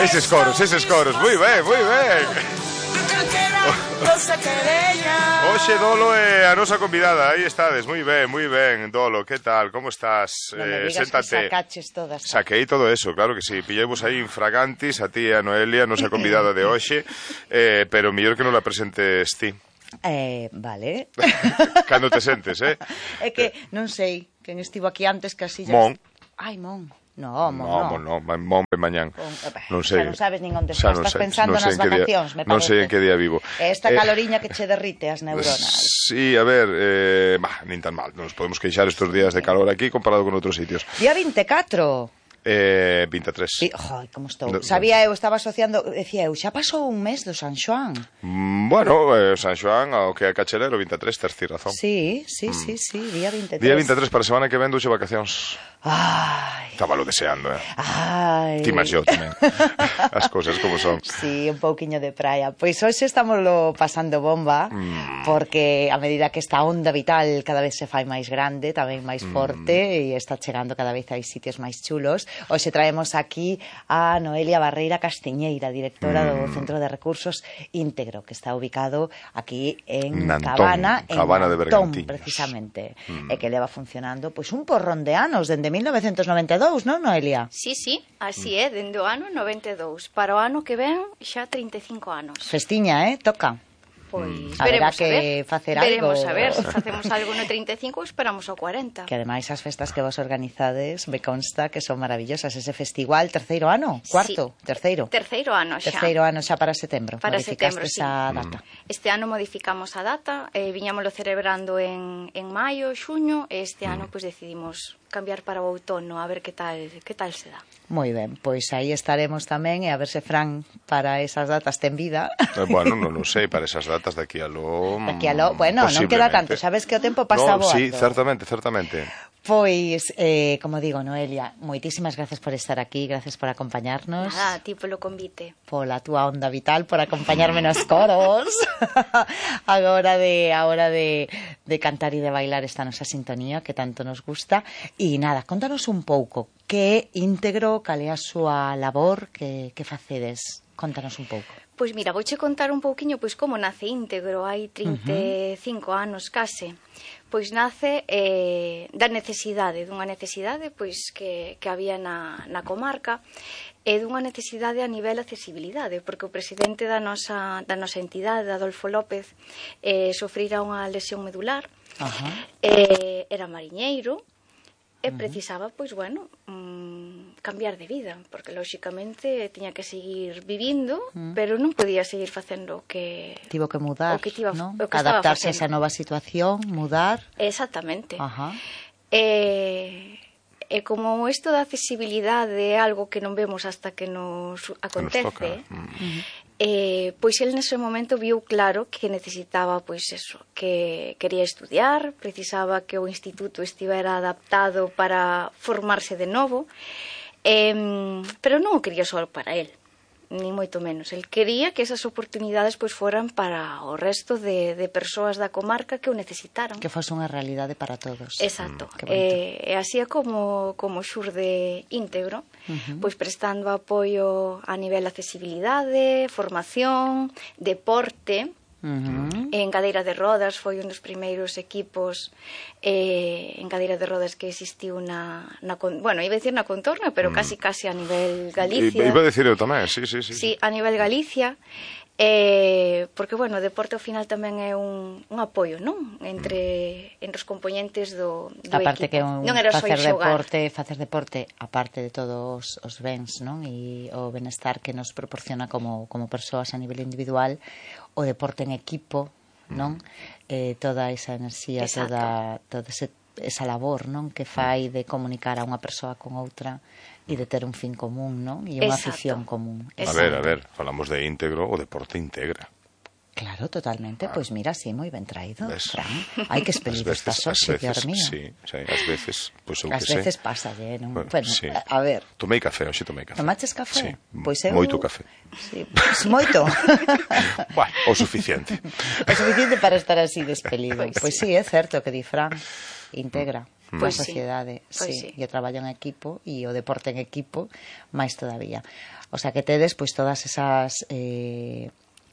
Eses coros, moi ben. Oxe, Dolo é a nosa convidada. Aí estades, moi ben, Dolo, que tal, como estás? Non me digas que sacaches todas. Saquei todo eso, claro que sí. Pillemos aí infragantis a ti e a Noelia, nosa convidada de hoxe, pero mellor que non la presentes ti. Vale. Cando te sentes, É que non sei quen estivo aquí antes que así... Mon. Ai, Mon. No, Mon ben mañán. Non sei. Xa non sabes nin onde estás pensando nas vacacións, me parece. Non sei en que día vivo. Esta caloriña que che derrite as neuronas. Sí, a ver, nin tan mal. Nos podemos queixar estes días de calor aquí comparado con outros sitios. Día 24. 23. Joi, como estou. Sabía eu, estaba asociando, decía eu, xa pasou un mes do San Xoán. Bueno, San Xoán, ao que é cachelero, 23, terci razón. Sí, día 23. Día 23 para a semana que ven duxe vacacións. Ai. Estábalo deseando, Ai. Ti máis yo tamén. As cousas como son. Sí, un pouquiño de praia. Pois hoxe estámoslo pasando bomba, porque a medida que esta onda vital cada vez se fai máis grande, tamén máis forte, e está chegando cada vez a sitios máis chulos. Hoxe traemos aquí a Noelia Barreira Castiñeira, directora do Centro de Recursos Íntegro, que está ubicado aquí en Cabana, de Bergantiños, precisamente, e que leva funcionando pois un porrón de anos, dende 1992, non, Noelia? Sí, así é, dende o ano 92. Para o ano que ven, xa 35 anos. Festiña, toca. Pois haberá que facer algo. Veremos a ver, se facemos algo no 35 esperamos ao 40. Que ademais as festas que vos organizades me consta que son maravillosas. Ese festival, terceiro ano? Cuarto? Sí. Terceiro ano xa. Terceiro ano xa para setembro. Para setembro, sí. Esa data. Este ano modificamos a data, viñámoslo celebrando en maio, xuño, e este ano pois decidimos cambiar para o outono, a ver que tal se dá. Moi ben, pois aí estaremos tamén, e a ver se Fran para esas datas ten vida. Bueno, non sei, para esas datas daqui a lo... bueno, non queda tanto, sabes que o tempo pasa voando. Sí, certamente. Pois, como digo, Noelia, moitísimas gracias por estar aquí, gracias por acompañarnos. Nada, a ti polo convite. Pola túa onda vital, por acompañarme nos coros. A hora de cantar e de bailar esta nosa sintonía que tanto nos gusta. E nada, contanos un pouco, que é Íntegro, cal é a súa labor, que facedes? Contanos un pouco. Pois mira, vouche contar un pouquiño pois como nace Íntegro, hai 35 anos case. Pois nace dunha necesidade pois que había na comarca, e dunha necesidade a nivel accesibilidade, porque o presidente da nosa entidade, Adolfo López, sofrira unha lesión medular, era mariñeiro, e precisaba, pois, bueno, cambiar de vida, porque, lóxicamente, tiña que seguir vivindo, pero non podía seguir facendo o que... Tivo que mudar, non? Adaptarse a esa nova situación, mudar... Exactamente. E como isto da accesibilidade é algo que non vemos hasta que nos acontece, pois el nese momento viu claro que necesitaba, pois eso, que quería estudiar, precisaba que o instituto estivera adaptado para formarse de novo, pero non o quería só para el, ni moito menos. El quería que esas oportunidades pois foran para o resto de persoas da comarca que o necesitaran. Que fose unha realidade para todos. Exacto. E así é como xurde Íntegro, pois prestando apoio a nivel de accesibilidade, formación, deporte. En cadeira de rodas foi un dos primeiros equipos en cadeira de rodas que existiu bueno, iba a decir na contorna, pero casi a nivel Galicia. Iba a decir eu tamén, sí. Sí, a nivel Galicia, porque, bueno, o deporte ao final tamén é un apoio, non? Entre os componentes do aparte equipo. Non era só facer deporte, aparte de todos os bens, non? E o benestar que nos proporciona como persoas a nivel individual, o deporte en equipo, non? Toda esa enerxía, toda esa labor, non? Que fai de comunicar a unha persoa con outra e de ter un fin común, non? E unha afición común. A ver, falamos de Íntegro, o deporte integra. Claro, totalmente. Pois mira, sí, moi ben traído, Fran. Hai que expelir estas hoxe, Dios mío. Sí, ás veces, pois eu que sei. Ás veces pasa, non? Bueno, a ver. Tomei café, hoxe tomei café. Tomaches café? Sí, moito café. Sí, pois moito. Bueno, o suficiente. O suficiente para estar así despelido. Pois sí, é certo que di Fran. Íntegra. pois Pois sí. sociedade, Pois sí, sí. e o traballo en equipo e o deporte en equipo máis todavía. O sea, que tedes pois todas esas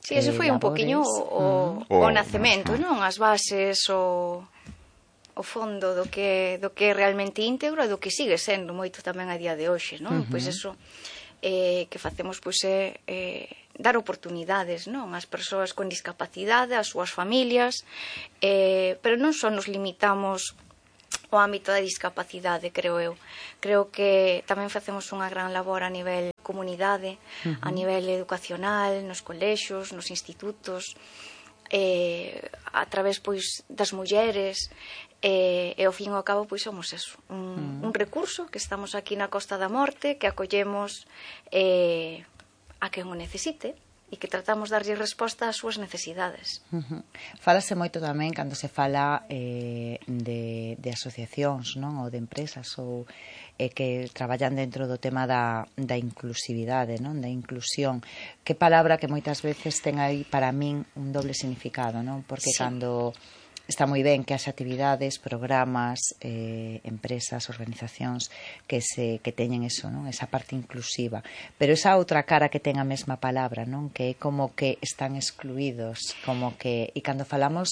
Sí, ese foi un poquinho o nacemento, non? As bases, o fondo do que é realmente íntegro e do que sigue sendo moito tamén a día de hoxe, non? Pois eso que facemos pois é dar oportunidades, non? Ás persoas con discapacidade, ás súas familias, pero non só nos limitamos o ámbito da discapacidade, creo eu. Creo que tamén facemos unha gran labor a nivel comunidade, a nivel educacional, nos colexios, nos institutos, a través pois das mulleres, e ao fin e ao cabo pois somos eso, un recurso que estamos aquí na Costa da Morte, que acollemos a quen o necesite e que tratamos de darlle resposta ás súas necesidades. Fálase moito tamén cando se fala de asociacións, non? Ou de empresas ou que traballan dentro do tema da inclusividade, non? Da inclusión. Que palabra que moitas veces ten aí para min un doble significado, non? Porque Sí. cando está moi ben que haxa actividades, programas, empresas, organizacións que teñen eso, non? Esa parte inclusiva, pero esa outra cara que ten a mesma palabra, non? Que é como que están excluídos, como que, e cando falamos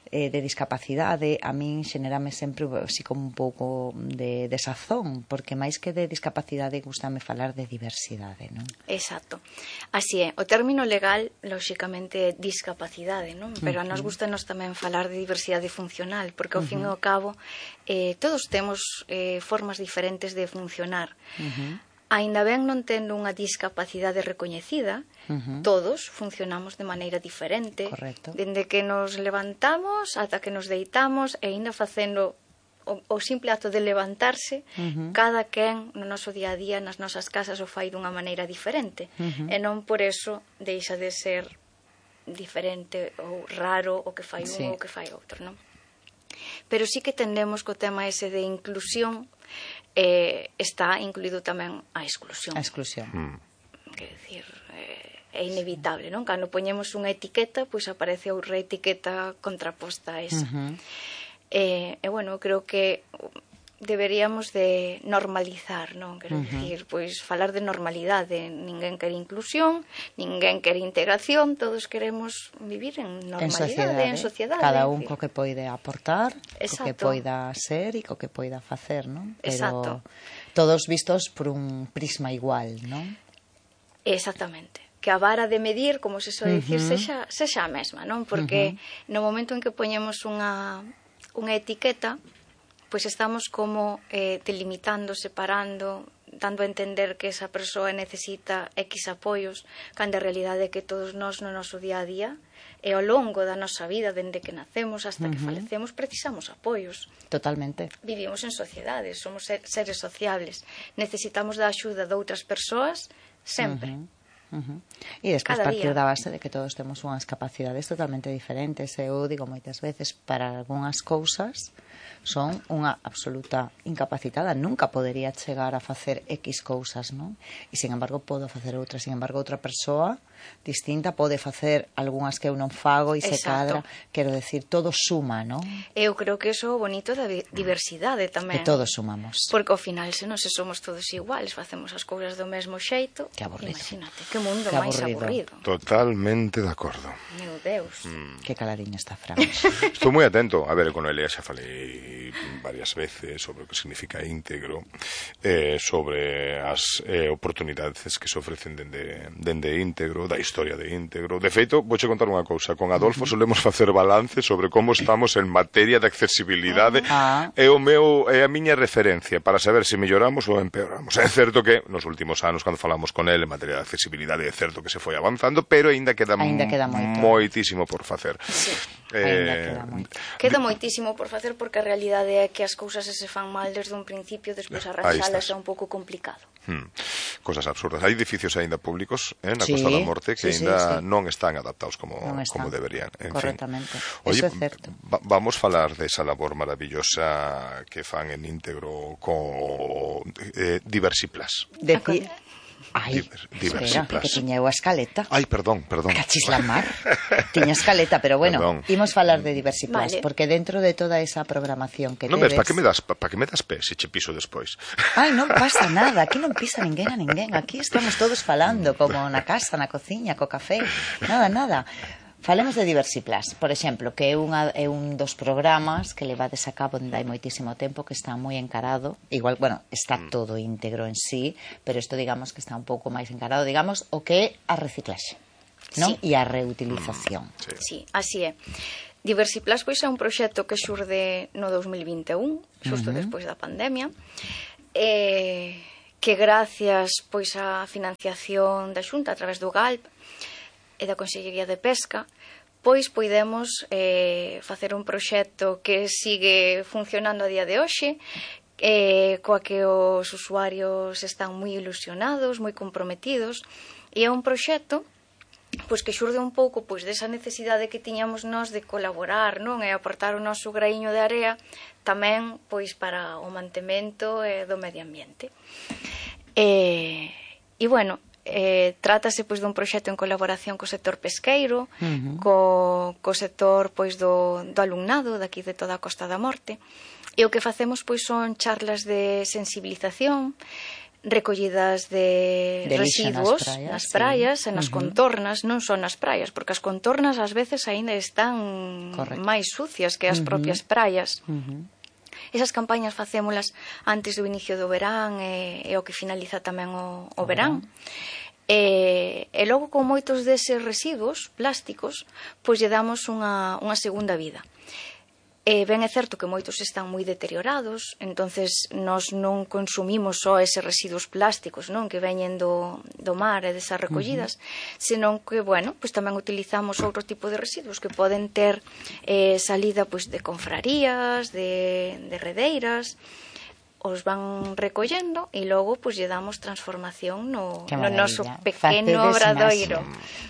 de discapacidade, a min xenérame sempre así como un pouco de desazón, porque máis que de discapacidade gustame falar de diversidade, non? Exacto. Así é. O término legal, lóxicamente, é discapacidade, non? Pero a nos gustanos tamén falar de diversidade funcional, porque ao fin e ao cabo todos temos formas diferentes de funcionar. Aínda ben non tendo unha discapacidade recoñecida, todos funcionamos de maneira diferente. Correcto. Dende que nos levantamos ata que nos deitamos, e aínda facendo o simple acto de levantarse, cada quen no noso día a día, nas nosas casas, o fai dunha maneira diferente. E non por eso deixa de ser diferente ou raro o que fai un ou o que fai outro, non? Pero sí que tendemos co tema ese de inclusión, está incluído tamén a exclusión. A exclusión. Quer decir, é inevitable, non? Cando poñemos unha etiqueta, pois aparece outra etiqueta contraposta a esa. E bueno, creo que deberíamos de normalizar, non? Quero dicir, pois falar de normalidade. Ninguén quere inclusión, ninguén quere integración, todos queremos vivir en normalidade, en sociedade. Cada un co que poide aportar, co que Exacto. poida ser e co que poida facer, non? Pero Exacto. todos vistos por un prisma igual, non? Exactamente. Que a vara de medir, como se soe dicir, sexa a mesma, non? Porque no momento en que poñemos unha etiqueta, pois estamos como delimitando, separando, dando a entender que esa persoa necesita X apoios, cando a realidade é que todos nós no noso día a día e ao longo da nosa vida, dende que nacemos hasta que falecemos, precisamos apoios. Totalmente. Vivimos en sociedades, somos seres sociables, necesitamos da axuda de outras persoas sempre. E despois Cada partir día. da base de que todos temos unhas capacidades totalmente diferentes. Eu digo moitas veces, para algunhas cousas son unha absoluta incapacitada, nunca podería chegar a facer X cousas, non? E sin embargo podo facer outras, sin embargo outra persoa distinta pode facer algunhas que eu non fago e se Exacto. cadra, quero decir, todo suma, non? Eu creo que iso é o bonito da diversidade tamén. Que todos sumamos. Porque ao final, se non se somos todos iguales, facemos as cousas do mesmo xeito, Que aburrido. imagínate, que mundo Que máis aburrido. aburrido. Totalmente de acordo. Meu Deus. Que caladiño está Fran. Estou moi atento. A ver, con Elia xa falei varias veces sobre o que significa íntegro, sobre as oportunidades que se ofrecen dende íntegro, da historia de íntegro. De feito, vouche contar unha cousa. Con Adolfo solemos facer balance sobre como estamos en materia de accesibilidade. É a miña referencia para saber se melloramos ou empeoramos. É certo que nos últimos anos, cando falamos con ele en materia de accesibilidade, é certo que se foi avanzando, pero aínda queda moito. moitísimo por facer. Sí. Queda moito. Queda moitísimo por facer porque a realidade é que as cousas se fan mal desde un principio, despois arranxalas é un pouco complicado. Cosas absurdas. Hai edificios aínda públicos na Sí, Costa da Morte que sí, aínda sí. non están adaptados como están. deberían. En Correctamente. Fin. Oye, Eso é certo. Vamos falar desa labor maravillosa que fan en íntegro con Diversiplas. Ai, espera, Diversiplas. que tiña eu a escaleta. Ai, perdón. Cachis la mar. Tiña escaleta, pero bueno, Perdón. imos falar de Diversiplas, Vale. porque dentro de toda esa programación que Non ves, tedes... para que me das pé se che piso despois? Ai, non pasa nada, aquí non pisa ninguén a ninguén. Aquí estamos todos falando, como na casa, na cociña, co café. Nada. Falemos de Diversiplas, por exemplo, que é un dos programas que levades a cabo dende hai moitísimo tempo, que está moi encarado, igual, bueno, está todo íntegro en sí, pero isto digamos que está un pouco máis encarado, digamos, o que é a reciclaxe, non? Sí. E a reutilización. Sí, así é. Diversiplas pois é un proxecto que xurde no 2021, xusto despois da pandemia, que gracias pois á financiación da Xunta a través do GALP e da Consellería de Pesca, pois poidemos facer un proxecto que sigue funcionando a día de hoxe, coa que os usuarios están moi ilusionados, moi comprometidos, e é un proxecto pois que xurde un pouco pois desa necesidade que tiñamos nós de colaborar, non, e aportar o noso graíño de area tamén pois para o mantemento do medio ambiente. E bueno, trátase pois dun proxecto en colaboración co sector pesqueiro, co sector pois do alumnado daqui de toda a Costa da Morte, e o que facemos pois son charlas de sensibilización, recollidas de residuos nas praias e nas contornas, non son nas praias, porque as contornas ás veces aínda están máis sucias que as propias praias. Esas campañas facémolas antes do inicio do verán e o que finaliza tamén o verán. E logo con moitos deses residuos plásticos pois lle damos unha segunda vida. Ben é certo que moitos están moi deteriorados, entonces nós non consumimos só eses residuos plásticos, non, que veñen do mar e desas recollidas, senón que, bueno, pois tamén utilizamos outro tipo de residuos que poden ter salida pois de confrarías, de redeiras, os van recollendo e logo pois lle damos transformación no noso pequeno obradoiro.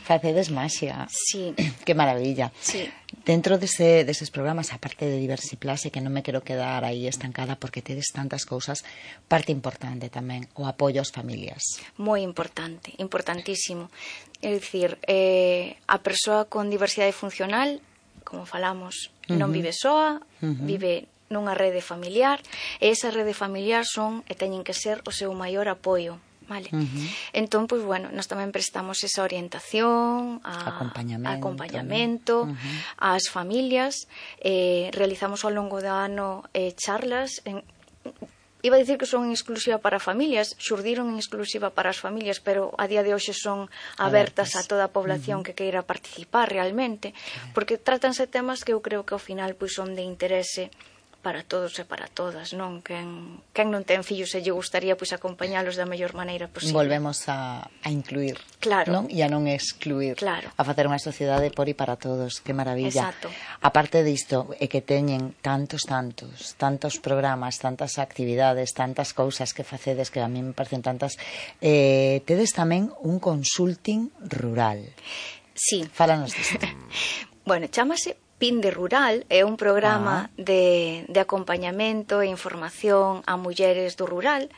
Facedes maxia. Sí. Que maravilla. Sí. Dentro deses programas, aparte de Diversiplas, e que non me quero quedar aí estancada porque tedes tantas cousas, parte importante tamén, o apoio ás familias. Moi importante, importantísimo. É dicir, a persoa con diversidade funcional, como falamos, non vive soa, vive nunha rede familiar, e esa rede familiar son e teñen que ser o seu maior apoio, vale? Entón, pois, bueno, nós tamén prestamos esa orientación, acompañamento ás familias, realizamos ao longo do ano charlas, iba a dicir que son en exclusiva para familias, xurdiron en exclusiva para as familias, pero a día de hoxe son abertas a toda a población que queira participar realmente, porque trátanse temas que eu creo que ao final pois son de interese para todos e para todas, non? Quen non ten fillos e lle gustaría pois acompañalos da mellor maneira posible. Volvemos a incluir, claro, non? E a non excluir, claro, a facer unha sociedade por e para todos, que maravilla. Exacto. Aparte disto, é que teñen tantos programas, tantas actividades, tantas cousas que facedes que a mí me parecen tantas, tedes tamén un consulting rural. Sí. Fálanos disto. Bueno, chámase Pinde Rural, é un programa de acompañamento e información a mulleres do rural,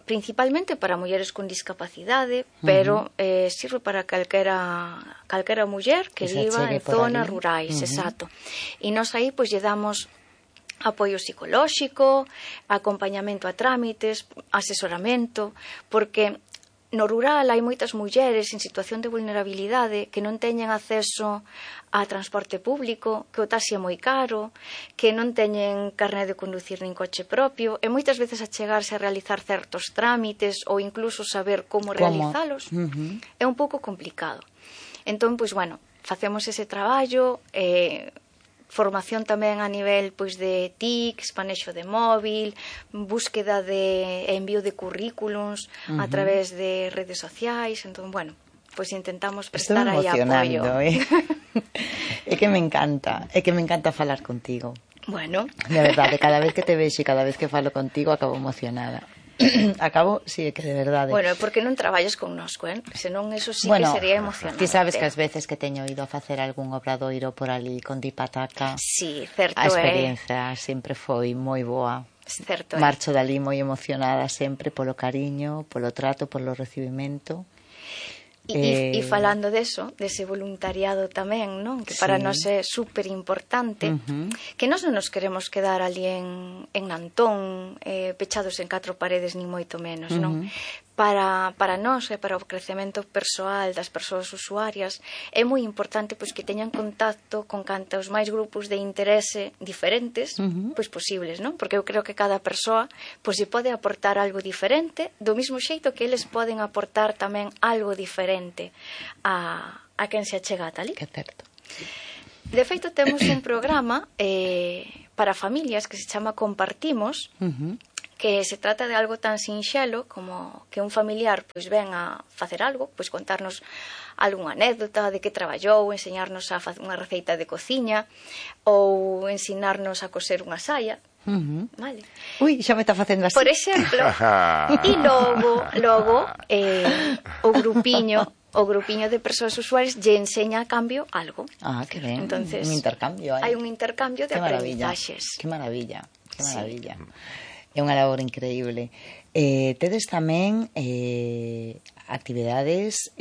principalmente para mulleres con discapacidade, pero sirve para calquera muller que viva en zonas rurais, exacto. E nós aí pois lle damos apoio psicolóxico, acompañamento a trámites, asesoramento, porque no rural hai moitas mulleres en situación de vulnerabilidade que non teñen acceso a transporte público, que o taxi é moi caro, que non teñen carné de conducir nin coche propio, e moitas veces a chegarse a realizar certos trámites ou incluso saber como realizalos é un pouco complicado. Entón, pois, bueno, facemos ese traballo, formación tamén a nivel pois de TICs, manexo de móvil, búsqueda de envío de currículums a través de redes sociais, entón, bueno, pois intentamos prestar aí apoio. É que me encanta falar contigo. Bueno. De verdade, cada vez que te vexo e cada vez que falo contigo acabo emocionada. Sí, que de verdade. Bueno, porque non traballas connosco, senón eso sí que sería emocionante. Ti sabes que as veces que teño ido a facer algún obradoiro por ali con Dipataca, sí, certo, a experiencia sempre foi moi boa. Certo, marcho dali moi emocionada sempre polo cariño, polo trato, polo recibimento. E falando deso, dese voluntariado tamén, non? Que para nós é super importante, que nós non nos queremos quedar ali en Nantón, pechados en 4 paredes, nin moito menos, non? Para nós e para o crecemento persoal das persoas usuarias é moi importante pois que teñan contacto con cantos máis grupos de interese diferentes pois posibles, non? Porque eu creo que cada persoa pois se pode aportar algo diferente, do mesmo xeito que eles poden aportar tamén algo diferente a quen se achega a tal. Que certo. De feito, temos un programa para familias que se chama Compartimos, que se trata de algo tan sinxelo como que un familiar pois ven a facer algo, pois contarnos algunha anécdota de que traballou, enseñarnos a facer unha receita de cociña ou ensinarnos a coser unha saia. Vale. Ui, xa me está facendo así. Por exemplo, e logo o grupiño de persoas usuarias lle enseña a cambio algo. Ah, que ben. Entonces, un intercambio aí. Hai un intercambio de aprendizaxes. Que maravilla, que maravilla. É unha labor increíble. Tedes tamén actividades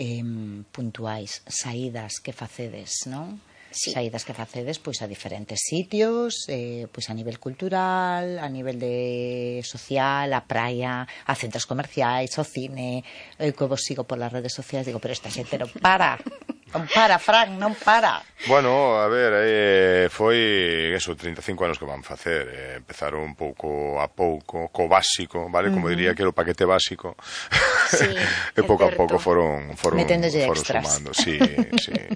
puntuais, saídas que facedes, non? Sí. Saídas que facedes pois a diferentes sitios, pois a nivel cultural, a nivel de social, a praia, a centros comerciais, ao cine. Eu que vos sigo por las redes sociais digo, pero esta xente non para. Non para, Fran, non para. Bueno, a ver, foi eso, 35 anos que van facer. Empezaron un pouco a pouco, co básico, vale? Como diría que era o paquete básico. Sí, e pouco a pouco foron sumando. Sí,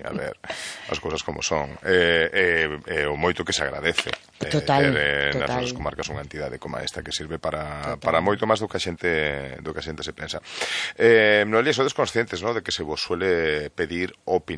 a ver, as cousas como son. O moito que se agradece. Total. Nas nosas comarcas unha entidade como esta que sirve para moito máis do que a xente se pensa. Noelia, sodes conscientes, ¿no?, de que se vos suele pedir opinión